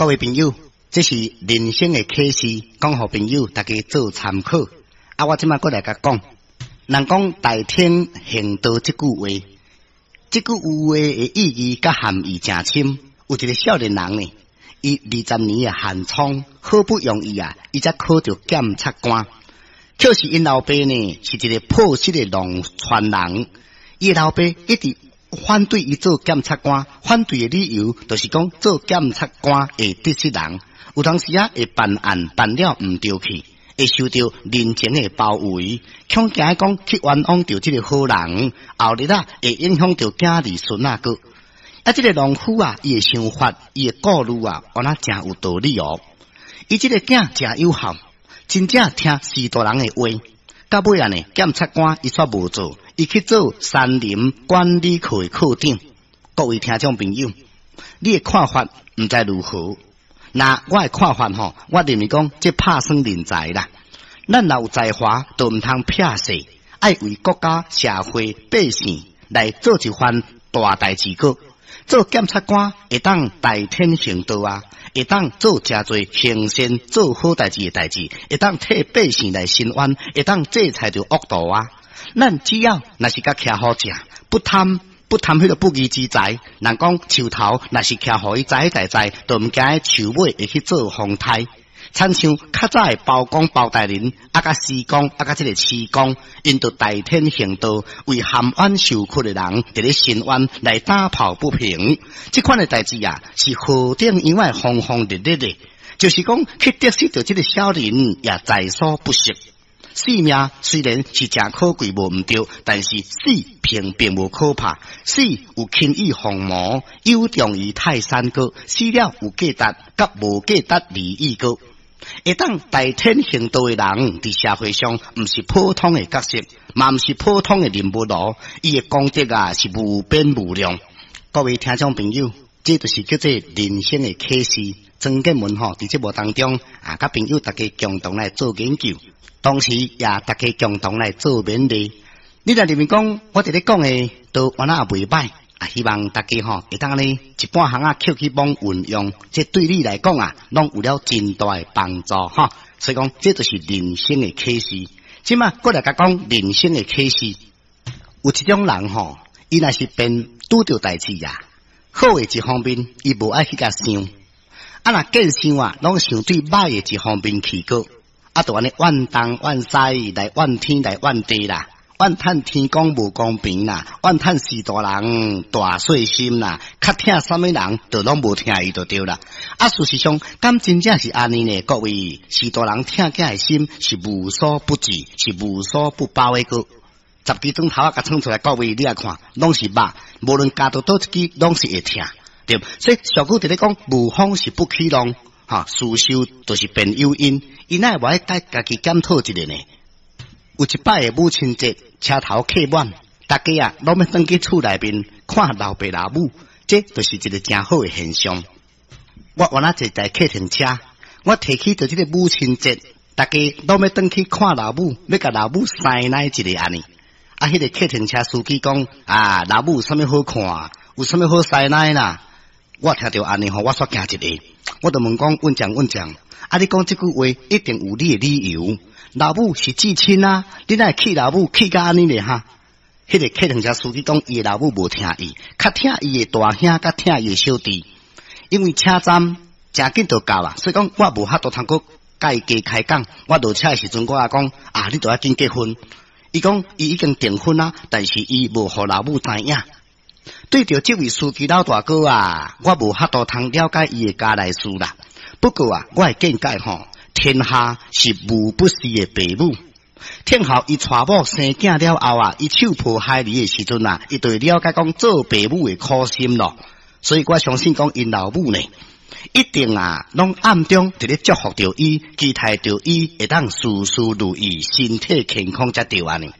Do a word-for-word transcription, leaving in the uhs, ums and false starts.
各位朋友，這是人生的啟示，講予朋友大家做參考。啊，我這擺閣來共講，人講代天行道這句話，這句話的意義佮含義誠深。有一个少年人呢，伊二十年的寒窗，好不容易啊，伊才考著檢察官。可是𪜶老爸呢，是一个朴實的農村人，伊的老爸一直反對伊做檢察官，反對的理由就是講做檢察官會得失人，有當時啊會辦案辦了毋著去，會受著人情的包圍，恐驚講去冤枉著這个好人，後日啊會影響著囝兒孫仔閣。啊，這个農夫啊，伊的想法，伊的顧慮啊，原來誠有道理哦。伊這个囝誠有孝，真正聽序大人的話。到尾啊呢，檢察官伊煞無做，伊去做山林管理課的課長。各位聽眾朋友，你的看法毋知如何？那我的看法吼，我認為講這拍算人才啦。咱若有才華，就毋通避世，愛為國家、社會、百姓來做一番大代誌閣。做檢察官會當代天行道啊，會當做誠濟行善做好代誌的代誌，會當替百姓來伸冤，會當制裁著惡徒啊。咱只要若是共徛好正，不貪不貪彼个不義之財。人講樹頭若是徛予伊栽栽栽，就毋驚樹尾會去做風颱。親像較早的包公包大人，啊佮施公，啊佮這个徐公，𪜶就代天行道，為含冤受屈的人，佇咧伸冤來打抱不平。這款的代誌啊，是何等樣的風風烈烈的，就是講去得失著這个小人，也在所不惜。性命雖然是誠可貴，無毋著，但是死並並無可怕。死有輕於鳳毛，有重於泰山閣。死了有價值，佮無價值而已閣。會當代天行道的人，佇社會上毋是普通的角色，嘛毋是普通的人物囉。伊的功德啊，是無邊無量。各位聽眾朋友，這就是叫做人生的啟示。曾建文吼佇節目當中啊，佮朋友大家共同來做研究，同時也大家共同來做勉勵。你若認為講我佇咧講的都原來也袂䆀啊，希望大家吼會當呢一半項仔抾去罔運用，這對你來講啊，攏有了真大的幫助吼。所以講，這就是人生的啟示。這擺閣來共講人生的啟示，有一種人吼，伊若是變拄著代誌啊，好的一方面，伊無愛去共想；啊，若見想啊，攏想對䆀的一方面去閣，啊，就按呢怨東怨西來怨天來怨地啦。怨嘆天公無公平啦，怨嘆序大人大細心啦，較疼啥物人，就攏無疼伊就對啦。啊，事實上，敢真正是按呢呢？各位，序大人疼囝的心是無所不至，是無所不包的閣。十支磚頭仔共創出來，各位你來看，攏是肉，無論咬著佗一支，攏是會疼，對。所以俗語佇咧講，無風是不起浪，哈，事受就是便有因，伊哪會無愛家家己檢討一下呢？有一擺的母親節，車頭客滿，大家啊攏欲轉去厝內面看老爸老母，這就是一个誠好的現象。我原來坐台客停車，我提起著這个母親節，大家攏欲轉去看老母，欲共老母師奶一下按呢。啊，彼个客停車司機講啊，老母有啥物好看？有啥物好師奶啦？我聽著按呢吼，我煞驚一下，我就問講，問講問講，啊，你講這句話一定有你的理由。老母是至親啊，你哪會氣老母氣甲按呢咧哈？彼个客停車司機講，伊的老母無疼伊，較疼伊的大兄，較疼伊的小弟。因為車站誠緊就到啦，所以講我無法度通閣共伊加開講。我落車的時陣，我也講啊，你著愛緊結婚。伊講伊已經訂婚啊，但是伊無予老母知影。對著這位司機老大哥啊，我無法度通了解伊的家內事啦。不過啊，我的見解吼，天下是無不是的父母。聽候伊娶某生囝了後啊，伊手抱孩兒的時陣啊，伊就會了解講做父母的苦心咯。所以我相信講𪜶老母呢，一定啊，攏暗中佇咧祝福著伊，期待著伊會當事事如意，身體健康才對按呢。